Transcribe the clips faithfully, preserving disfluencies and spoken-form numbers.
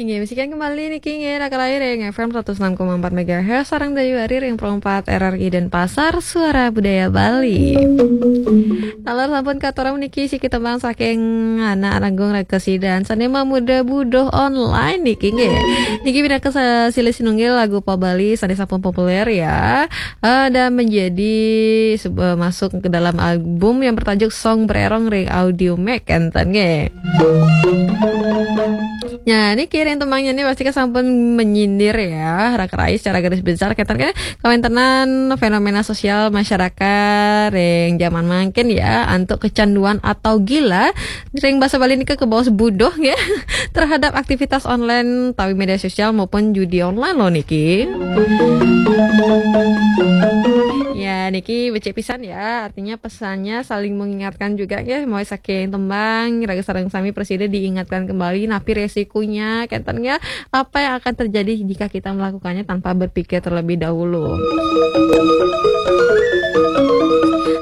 Ya, bisikan kembali niki nggih, Raka Rai ring F M seratus enam koma empat megahertz, sareng Dayu Ari ring Pro empat R R I Denpasar, Suara Budaya Bali. Taler sampun katurang niki siki tembang saking Anak Agung Raka Sidan, sane mamuda buduh online niki nggih. Niki pinaka sa-, silih sinunggil lagu pop Bali sane sampun populer ya. Eh, dan menjadi sebe-, masuk ke dalam album yang bertajuk Song Brerong ring Audiomack enten nggih. Nah, niki ring tembangnya nih pasti kan sampun menyindir ya, Raka Rai secara garis besar kenten kan kawentenan fenomena sosial masyarakat ring zaman mangkin ya, antuk kecanduan atau gila, ring basa Bali nika kebaos buduh ya, terhadap aktivitas online tawi media sosial maupun judi online loh niki. Ya, niki becik pisan ya, artinya pesannya saling mengingatkan juga ya, mau saking tembang, raga sareng sami presida diingatkan kembali, napi resikonya, kenten ya, apa yang akan terjadi jika kita melakukannya tanpa berpikir terlebih dahulu.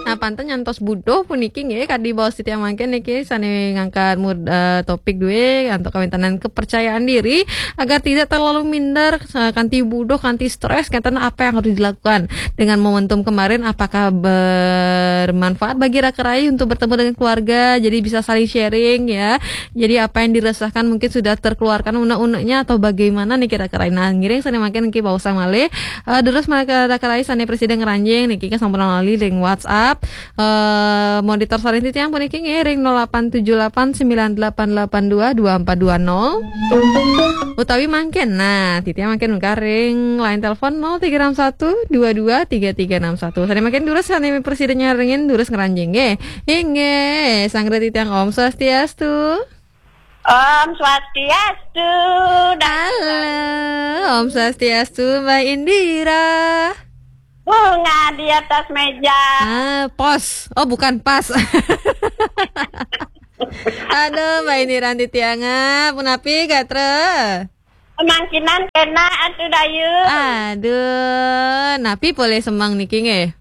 Nah, panten nyantos buduh puniki nggih, kadi baos titiang mangkin niki sane ngangkat mur-, eh, topik duwe antuk kawentenan kepercayaan diri agar tidak terlalu minder, eh, kanti buduh, kanti stres, kenten apa yang harus dilakukan dengan momentum kemarin, apakah bermanfaat bagi Raka Rai untuk bertemu dengan keluarga, jadi bisa saling sharing ya. Jadi apa yang diresahkan mungkin sudah terkeluarkan unek-uneknya atau bagaimana niki Raka Rai. Nah, ngiring sane mangkin niki baos malih. Eh, terus mereka Raka Rai sane presida ngranjing niki kan sampun lali ring WhatsApp. Eh, monitor sareng titiang puniki nggih ring nol delapan tujuh delapan sembilan delapan delapan dua dua empat dua nol. Utawi mangkin, nah, titiang mangkin nukaring line telepon nol tiga enam satu dua dua tiga tiga enam satu. Sane mangkin durus sane presida nyarengin durus ngranjing nggih. Inggih, sang titiang Om Swastiastu. Om Swastiastu. Halo, Om Swastiastu, Mbak Indira. Bunga di atas meja. Ah, pos. Oh, bukan pas. Aduh, Mbak Indira titiang, punapi gatra? Mangkin kena atu Dayu. Aduh, napi polih semeng niki nggih?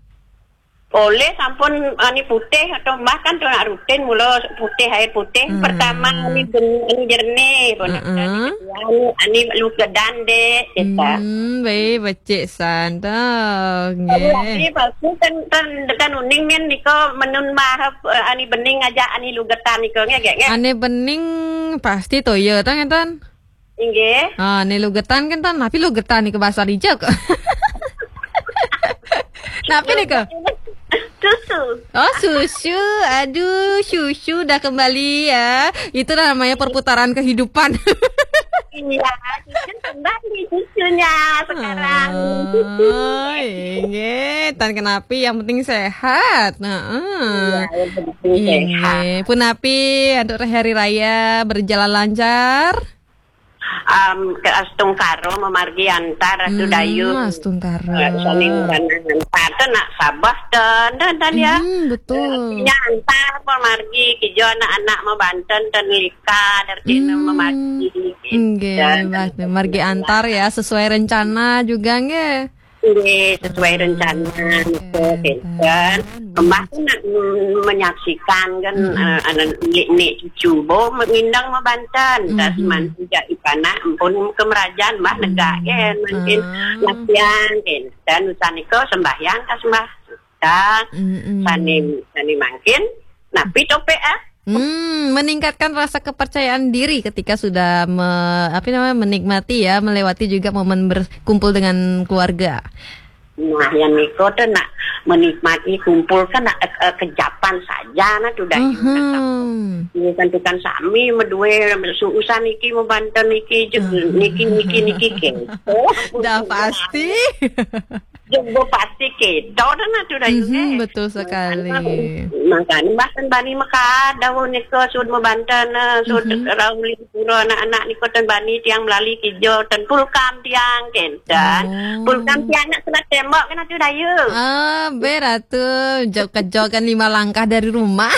Polih sampun ani putih atau mbah kan tuh nak rutin mula putih, air putih. Hmm. Pertama ani ben-, ani jernih, pun. Heeh. Ani, ani lugetan dek, kita. Hmm, baik, becik san, toh, nggih. Tapi pasti kan, kan, kan uning men niko menun mahap, eh, ani bening aja ani lugetan niko, nggih, nggih, nggih. Ani bening pasti toya, toh, ngeten? Inggih. Ah, ni lugetan kan, tan, tapi lugetan ni ke bahasa dijak. Napi ni ke? Susu. Oh, susu. Aduh, susu dah kembali ya. Itu namanya perputaran kehidupan. Iya, susu kembali susunya sekarang. Oh, inggih. Tan kenapi, yang penting sehat. Nah, iya, yang penting sehat. Inggih. Punapi, antuk hari raya berjalan lancar? Am, ke astungkara mamargi antar Ratu Dayu. Hmm, astungkara. Eh, sami ngranang antar. Ten nak sabah ten, ten, ten, ya. Hmm, betul. Eh, artinya antar mamargi, kija anak-anak mabanten ten lika, artinya mamargi. Inggih, dan margi antar ya, sesuai rencana juga nggih. Nggih, sesuai rencana, nggih, kenten. Mbah tu nak, mm, menyaksikan kan, eh, anak nik, nik cucu, bo ngindang mabanten, tas mantu jak ipanak, ampun kemerajan, mbah negak kan, mungkin latihan, kenten, usan iko sembahyang, tas mbah, ta, sani, sani mangkin, napi topik, ah? Hmm, meningkatkan rasa kepercayaan diri ketika sudah me-, apa namanya, menikmati ya, melewati juga momen berkumpul dengan keluarga. Nah, yang niko tu nak menikmati kumpul kan nak, eh, eh, kejapan saja nah tu Dayu. Ini kan tukang sami medue suusan niki mabanten niki je, niki, niki, niki ke. Dah pasti. Jumbo pasti kita dah nak tu Dayu, mhm, eh. Betul sekali. Makanya bahkan bani mekad daun niko sud mabanten, eh, sud rau melipura anak-anak niko tan bani tiang melali kija tan pulkam tiang kenten. Oh. Pulkam tiang nak selat tembak kan tu Dayu. Ah, beratu jauh kejokan lima langkah dari rumah.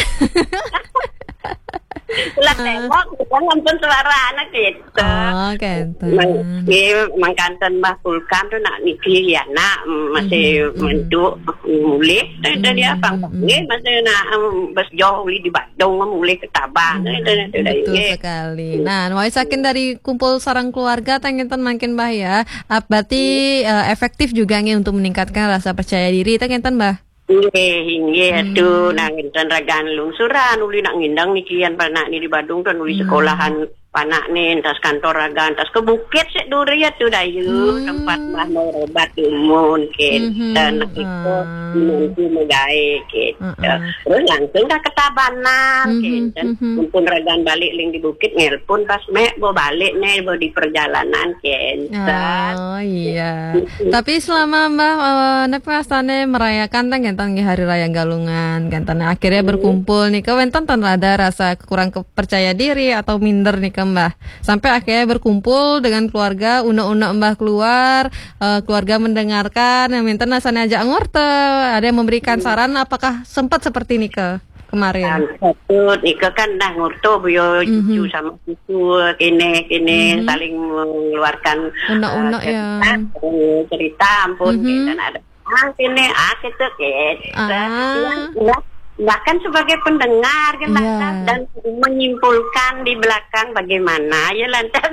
Lah tembok, kita ngampun suara anak gitu. Oh, kenten. Mang, iya, mangkanten Mbah Kulkam tuh nak niki ya nak, mm, masih Mhm, mhm. Mentuk, mulih, tuh, tuh dia Mhm, pang, mhm. Nggih, masih nak, mm, bes jauh uli di Badung, mulih ke Tabang, tuh, tuh, tuh, Betul nggih. Sekali. Nah, wau saking dari kumpul sareng keluarga, tangenten mangkin Mbah ya. Ap-, berarti, eh, efektif juga nggih untuk meningkatkan rasa percaya diri, tangenten Mbah. Nggih, inggih Hmm. Atuh, nang enten ragan lungsuran, uli nak ngindang niki yan panak ni di Badung kan uli Hmm. Sekolahan panak ni, entas kantor ragan, entas ke bukit sik duri atuh dayu, Hmm. Tempat mah mau obat umun, kenten, Hmm. Itu, Ah. Nanti megai, gitu. Ah, ah. Terus langsung dah ke Tabanan, Hmm, kenten. Hmm. Mumpun ragan balik ling di bukit, nelpon pas mek, bo balik nih, bo di perjalanan, kenten. Oh, iya. Tapi selama Mbah, eh, napa astane merayakan tang kenten nggih Hari Raya Galungan, kenten akhirnya Hmm. Berkumpul nih, wenten ten ada rasa kurang ke-, percaya diri atau minder nih ke Mbah? Sampai akhirnya berkumpul dengan keluarga, unek-unek Mbah keluar, eh, keluarga mendengarkan, yang minten rasanya ajak ngorte, ada yang memberikan Hmm. Saran, apakah sempat seperti ini ke kemarin? Kan, satu, Nika kan dah ngurtu, buyo Mhm. Cucu sama cucu, kene, kene, Mhm. Saling mengeluarkan, Unek-unek eh, cerita, ya. Eh, cerita, ampun, Mhm. Kene, ada. Ah, kene, ah, kita, kene. Ah. Nah, nah, bahkan sebagai pendengar, kan, Iya. Dan menyimpulkan di belakang bagaimana, ya, lantas,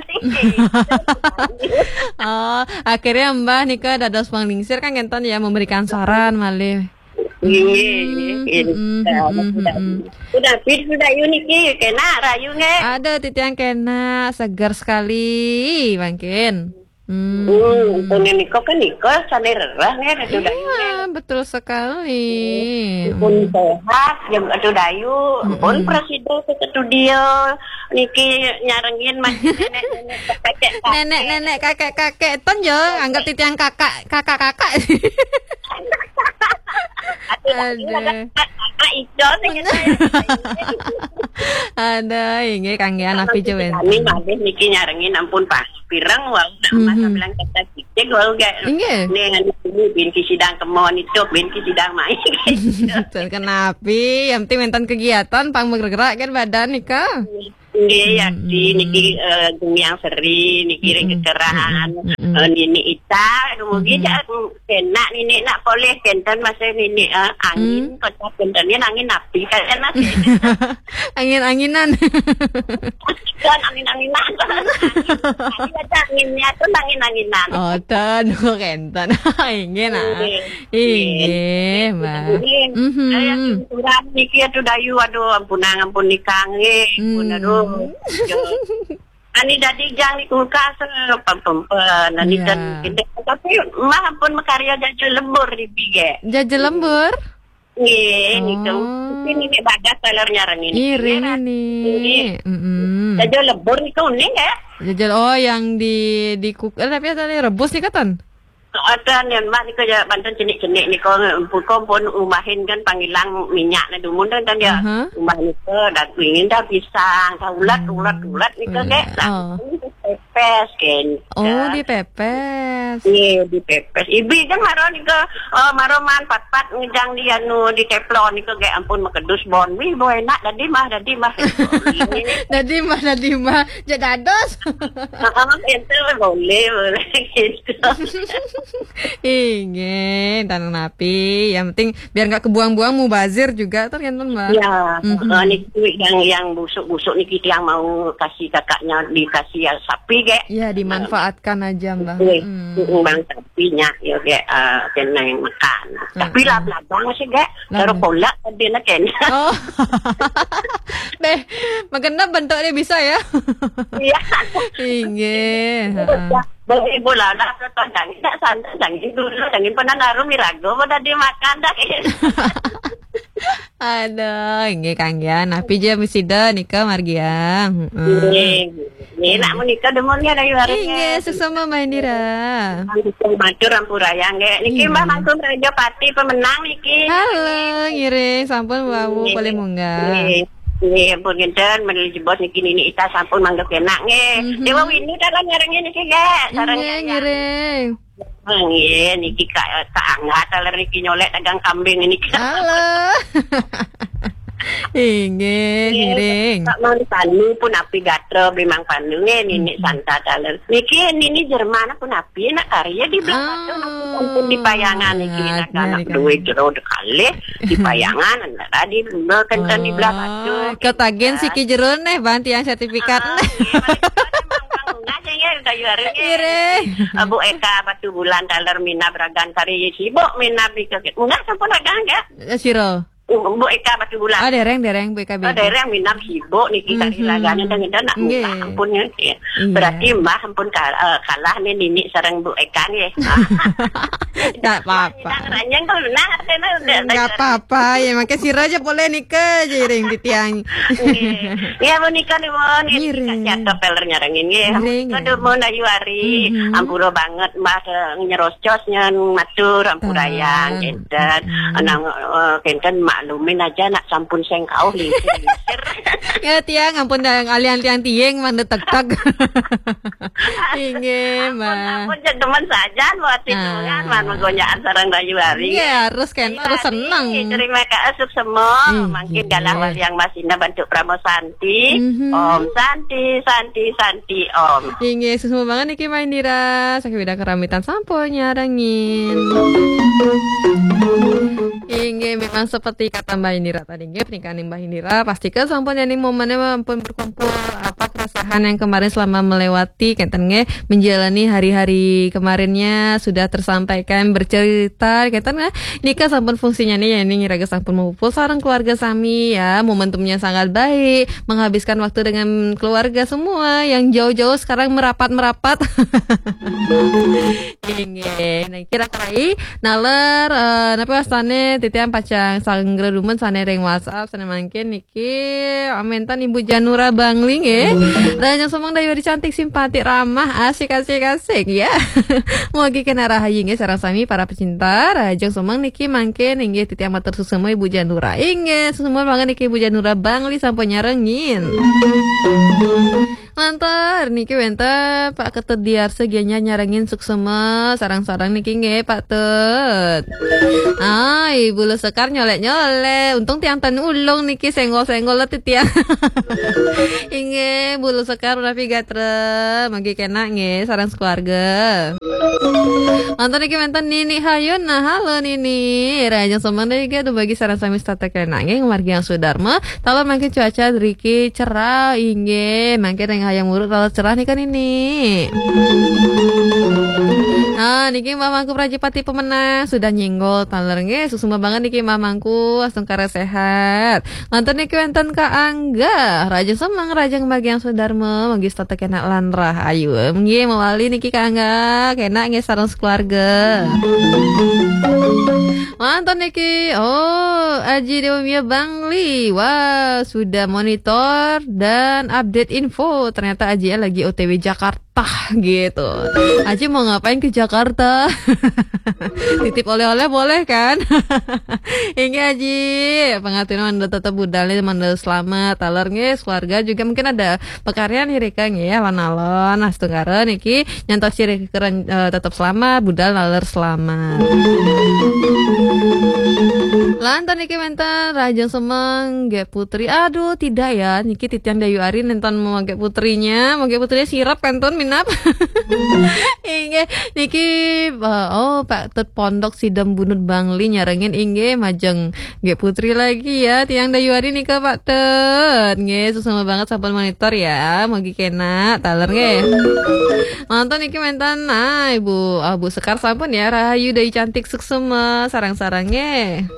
Oh, akhirnya Mbah Nika dados panglingsir, kan, kenten, ya, memberikan saran, malih. Iya, iya, Hmm, iya. Hmm, hmm, hmm, hmm. Sudah, sudah, sudah, yuk niki, kena rayu nggih. Ada titiang kena, segar sekali, mangkin. Hmm. Hmm, pun niko kan niko sane rerah nggih, Ratu Dayu nggih. Iya, betul sekali. Pun sehat, ya Ratu Dayu, pun Mm-mm. Presiden ke studio, niki nyarengin masih nenek-nenek, kakek-kakek. Nenek-nenek, kakek-kakek, ten yo, anggap titiang kakak, kakak-kakak. Aduh, Aduh. Ada, ada Ijon, ya, Bener. Ada, inggih, kangge anak Nanti pijewen. Kami malih niki nyarengin ampun pas pireng, wau, nak Mhm. Masa bilang kata cicing, wau, gak. Inggih. Nih, anu, ini binti sidang kemon itu, binti sidang main. Betul, kenapi, yang penting wenten kegiatan, pang bergerak kan badan, nika. Nggih, yakti, Mm-mm. Niki, eh, Gumiang Seri, niki, mm-mm. Kekeran, mm-mm. Eh, Nini Ita, kemudian, mm-mm. Kena Nini nak polih, kenten masa Nini, eh, angin, hmm. Kota kentennya angin api, kalian masih. Angin-anginan. Kan angin-anginan. Angin, angin, ada anginnya tuh angin-anginan. Oh, ten, kenten. Inggih, nah. Nggih. Inggih, Mbak. Nggih. Mhm. Saya syukuran niki, aduh, Dayu, aduh, ampun, ampun, nikah, nggih. Ampun, hmm. Aduh. Ani dadi jang di kulkas, eh, pem-, pem-, pem-, ani. Iya. Dan, tapi, Mbah, ampun, makarya jajal lembur di bige. Jajal lembur? Nggih, niku. Oh. Ini, ini bagas talernya rengin. Ih, rengin nih. Nggih. Mm-mm. Jajal lembur niku nih, ya. Jajal, oh, yang di, di kuk-, eh, tapi tadi rebus nih, katan? Ada nih, Mbah, niku ya, banten cenik-cenik niku, buka pun umbahin kan panggilan minyak nih, dumun kan, kan ya. Aha. Umbah niku, dan ingin dah pisang, dah ulat, hmm. Ulat, ulat niku, oh, kayak, iya. Nah, oh. Ini pepes, kan. Oh, dipepes. Iya, dipepes. Ibu kan maro niku, oh, maro man pat-pat ngejang di anu, di teflon niku, kayak ampun, makedus bon. Wih, bo enak, dadi mah, dadi mah. Dadi mah, dadi mah. Jek dados. Heeh, itu boleh, boleh gitu. Inggih, tanang napi. Yang penting biar nggak kebuang-buang, mubazir juga, tergantung, Mbak. Ya, mhm. Eh, niku yang, yang busuk-busuk niki yang mau kasih kakaknya dikasih ya sapi, kayak. Ya, dimanfaatkan aja, Mbak. Nggih, hmm. Heeh, bang sapinya, ya, kayak, eh, kena yang makan. Tapi hmm. Lab-labang sih, kayak. Taruh kolak tadi nak kan. Oh. Deh, makan bentuknya bisa ya? Iya. Inggih, heeh. Boleh bola lah, tandang. Tak santai, jangan dulu, jangan pernah naruh mirago, pada dia makan dah. Aduh, inggih kangge. Napi ja sida nika margia. Heeh. Nggih. Nggih, nak menika demun nggih, Dayu Arif, inggih, nggih. Suksma Mbah Indira. Matur ampuraya nggih. Niki, iya. Mbah Mangku Raja Pati pemenang niki. Halo, ngiring, sampun wau, nggih. Paling munggah. Nggih. Nggih, ampun ngenten, menurut jebos niki Nini Ita sampun manggep enak nggih. Mhm. Dewa Windu dalam nyarengin niki nggih. Sareng inggih, nggih. Ngiring. Nggih, niki Kak, Kak Angga, taler niki nyolek dagang kambing niki. Halo. Inggih, ngiring. Kak Mang Panu pun api gatra beli Mang Panu nggih, nini Santa taler. Niki nini Jerman pun api nak karya di belah batu, ampun di payangan niki, nak anak duit jero dekalih di payangan, anak tadi kenten di belah batu. Ketagihan siki jero neh, ban tiang sertifikat. Ah, nggih, balik Mang, Mang, Mang, nggih, nggih, kayu hari nggih. Ngiring. Eh, Bu Eka Batu Bulan taler minab ragan kari sibuk minab ika. Enggak sampun ragan enggak? Eh, sira. Bu Eka Batu Bulan. Oh, dereng, dereng, Bu Eka. Oh, Bedi. Dereng minab sibuk niki kari ragane teng enten nak. Nggih. Buka ampun nggih. Iya. Berarti Mbah ampun kal-, eh, kalah nih nini sareng Bu Eka nggih. Nggak apa-apa. Nang ranyang kalau nah, artinya udah. Nggak apa-apa, ya, makanya sira aja boleh nika aja iring titiang. Nggih. Ya, menika nuwun. Ngiring. Kasihan kepeler nyarengin nggih. Ngiring, ngiring. Ampun Ayu Ari. Mhm. Ampura banget Mbah, eh, nyerocos nyen matur ampurayang. Kenten. Nang, eh, kenten maklumin aja nak sampun sengkauh lingsir-lingsir. Ya, tiang ampun dah alian tiang tiing mandeg tegteg. Inggih, Mbah. Ampun, ampun, cek demen sajan buat itu kan, man, menggonyakan sareng Dayu Ari. Nggih, harus kan, Dayu harus Ari, seneng. Terima kasih semua. Mungkin galah wali yang masih bantu Pramosanti. Mhm. Om Santi, Santi, Santi, Om. Inggih, suksma banget niki Mbah Indira. Saking Widya Keramitan sampun nyarengin. Inggih, memang seperti kata Mbah Indira tadi, nggih, pernikahan Mbah Indira, pastikan sampun ya nih momennya ampun berkumpul, apa, keresahan yang kemarin selama melewati, kenten nggih, menjalani hari-hari kemarinnya sudah tersampaikan, bercerita, kenten nggih, nika sampun fungsinya nih ya, ini ngiraga sampun mupul sareng keluarga sami ya, momentumnya sangat baik, menghabiskan waktu dengan keluarga semua yang jauh-jauh sekarang merapat-merapat. Inggih, nah, kira-kira naler, eh, napa wastane titiang pacang sanggra dumun sane ring WhatsApp, sane mangkin niki, eh, mentan Ibu Janura Bangli nggih. Rahajeng semeng Dayu Ari cantik, simpatik, ramah, asik, asik, asik, ya. Mugi kena rahayu nggih sareng sami para pecinta. Rahajeng semeng niki mangkin inggih titiang matur suksma Ibu Janura. Inggih, suksma banget niki Ibu Janura Bangli sampun nyarengin. Lantar niki wenten Pak Ketut Diarsa Gianyar nyarengin suksma sareng-sareng niki nggih Pak Tut. Ai, Bulu Sekar nyolek-nyolek. Untung tiang ten ulung niki senggol-senggol let tiang. Inggih, Bulu Sekar rapi gatra. Mangke kena nggih sareng sekeluarga. Lantar niki wenten Nini Hayun. Nah, halo Nini. Rahajeng semeng nggih dumun sareng sami setata kena nggih margi yang sudarma. Taler mangke cuaca driki cerah, inggih. Mangke ring Hayam Wuruk taler cerah nika nini. Ah, niki Mbah Mangku Prajapati pemenang sudah nyenggol taler nggih. Suksma banget niki Mbah Mangku, astungkara sehat. Lantur niki wenten Kak Angga, rahajeng semeng, rahajeng bagian sudarma, mangke setata kena lan rahayu. Nggih, mawali niki Kak Angga, kena nggih sareng sekeluarga. Mantap niki. Oh, Aji Dewa Mia Bangli. Wah, sudah monitor dan update info. Ternyata Aji lagi O T W Jakarta gitu. Aji mau ngapain ke Jakarta? Titip oleh-oleh boleh kan? Inggih Aji, pangaturna mangda tetep budal, mangda selamat. Taler nggih, keluarga juga mungkin ada pakaryan irika nggih, alon-alon. Nah, astungkara niki nyantos sira keren, eh, tetep selamat, budal taler selamat. Lantur niki wenten rahajeng semeng Gék Putri. Aduh, tidak ya. Niki titiang Dayu Ari nenten mau Gék Putrinya. Mau Gék Putrinya sirep kantun minab. Inggih, niki, eh, oh, Pak Tut Pondok Sidem Bunut Bangli nyarengin inggih majeng Gék Putri lagi ya, tiang Dayu Ari nika Pak Tut. Nggih, suksma banget sampun monitor ya. Mugi kena taler nggih. Mantun niki wenten, nah, Ibu, ah, Bu Sekar sampun ya, rahayu Dayu cantik suksma sareng-sareng nggih.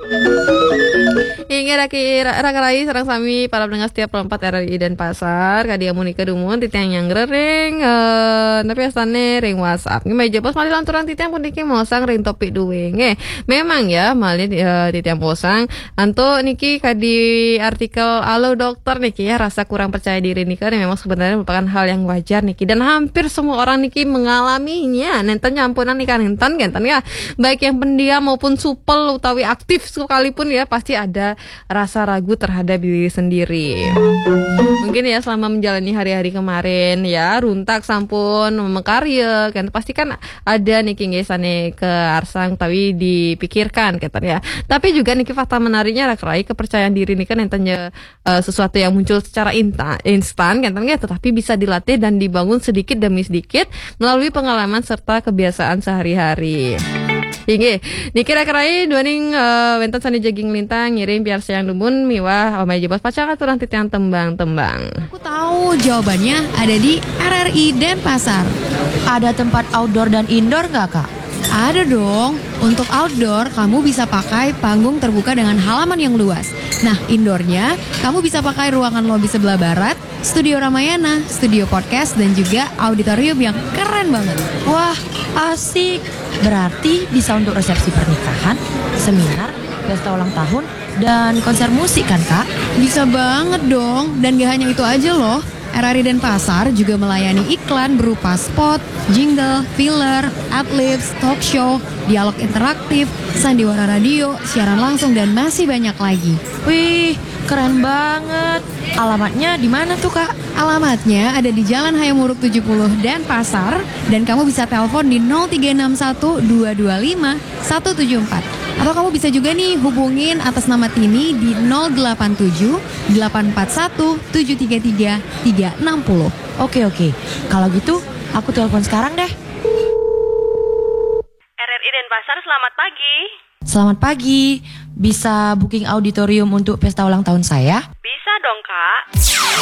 Inggih raki ra-, raka rayi sareng sami para pendengar setia Pro empat R R I Denpasar. Kadi amunika dumun titiang nyanggra ring, eh, napi astane ring WhatsApp. Nggih, meja pos malih lanturang titiang puniki mosang ring topik duwe nggih. Memang ya, malih, eh, titiang posang. Antuk niki kadi artikel Halo Dokter niki ya, rasa kurang percaya diri nika memang sebenarnya merupakan hal yang wajar niki dan hampir semua orang niki mengalaminya. Nenten nyampunan nika nenten, nenten ya. Baik yang pendiam maupun supel utawi aktif sekalipun ya pasti ada rasa ragu terhadap diri sendiri. Mungkin ya, selama menjalani hari-hari kemarin ya, runtak sampun, mekarya kan, pasti kan ada niki nggih sane kearsang utawi dipikirkan kenten ya. Tapi juga niki fakta menariknya, Raka Rai, kepercayaan diri niki kan enten ya, eh, sesuatu yang muncul secara inta- instan kenten ya, tetapi bisa dilatih dan dibangun sedikit demi sedikit melalui pengalaman serta kebiasaan sehari-hari. Inggih, niki Raka Rai, duaning, eh, wenten sane jagi nglintang ngiring piarsayang dumun miwah omahe Jebos pacang aturang titiang tembang-tembang. Aku tahu jawabannya ada di R R I Denpasar. Ada tempat outdoor dan indoor nggak, Kak? Ada dong. Untuk outdoor, kamu bisa pakai panggung terbuka dengan halaman yang luas. Nah, indoornya, kamu bisa pakai ruangan lobi sebelah barat, Studio Ramayana, studio podcast, dan juga auditorium yang keren banget. Wah, asik. Berarti bisa untuk resepsi pernikahan, seminar, pesta ulang tahun, dan konser musik kan, Kak? Bisa banget dong. Dan gak hanya itu aja loh. R R I Denpasar juga melayani iklan berupa spot, jingle, filler, adlibs, talk show, dialog interaktif, sandiwara radio, siaran langsung, dan masih banyak lagi. Wih, keren banget. Alamatnya di mana tuh, Kak? Alamatnya ada di Jalan Hayam Wuruk tujuh puluh Denpasar, dan kamu bisa telepon di nol tiga enam satu dua dua lima satu tujuh empat. Atau kamu bisa juga nih hubungin atas nama Tini di nol delapan tujuh delapan empat satu tujuh tiga tiga tiga enam nol. Oke, oke. Kalau gitu, aku telepon sekarang deh. R R I Denpasar, selamat pagi. Selamat pagi. Bisa booking auditorium untuk pesta ulang tahun saya? Bisa dong, Kak.